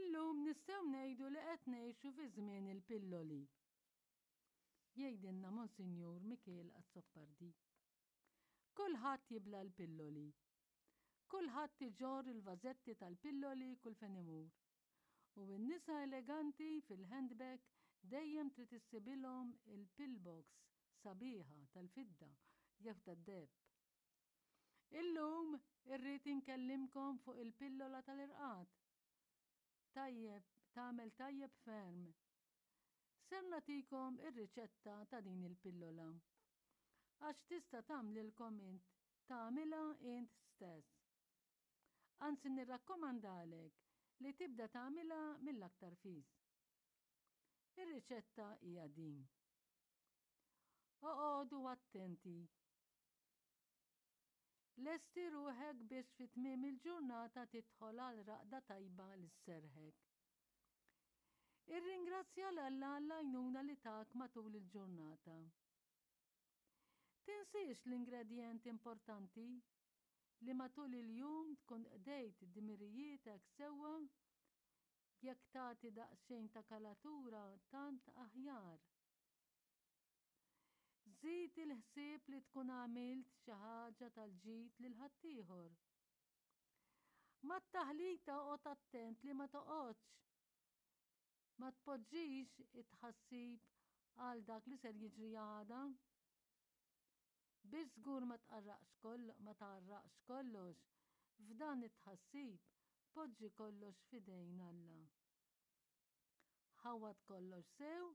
Illum nistgħu ngħidu li qed ngħixu fi żmien il-pilloli. Jgħidilna Monsinjur Mikiel Azzopardi. Kulħadd jibla' l-pilloli. Kulħadd iġorr il-vażetti tal-pilloli kull fejn imur. U n-nisa eleganti fil-handbag dejjem trid issibilhom il-pillbox sabiħa tal-fidda jew tad-deheb. Illum irrid inkellimkom fuq il-pillola tal-irqad. Tajjeb, tagħmel tajjeb ferm. Ser nagħtikom ir-riċetta ta' din il-pillola. Għax tista' tagħmlilkom int, tagħmilha int stess. Anzi nirrakkomandalek li tibda tagħmilha mill-aktar fis. Ir-riċetta hija din. Oqogħdu attenti. Lesti ruħek biex fi tmiem il-ġurnata tidħol għal raqda tajba li sserħek. Irringrazzja 'l Alla għall-għajnuna li tak matul il-ġurnata. Tinsiex l-ingredjent importanti li matul il-jum tkun qdejt dmirijietek sewwa jekk tagħti daqsxejn ta' kalatura tant aħjar. Żid il-ħsieb li tkun għamilt xi ħaġa tal-ġid lil ħaddieħor. Mat-taħlita oqgħod attent li ma toqgħodx ma tpoġġix it-tħassib għal dak li ser jiġri għada. Biex żgur ma tqarraqx koll ma tgħarraqx kollox f'dan it-tħassib, poġġi kollox f'idejn Alla. Ħawwad kollox sew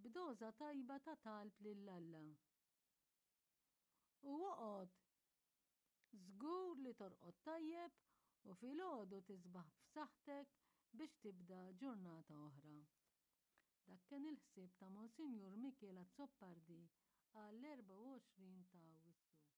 b'doża tajba ta' talb lil Alla. U oqgħod żgur li torqod tajjeb u filgħodu tisbaħ b'saħħtek biex tibda ġurnata oħra. Dak kien il-ħsieb ta' Monsinjur Mikiel Azzopardi għall-24 ta' Awwissu.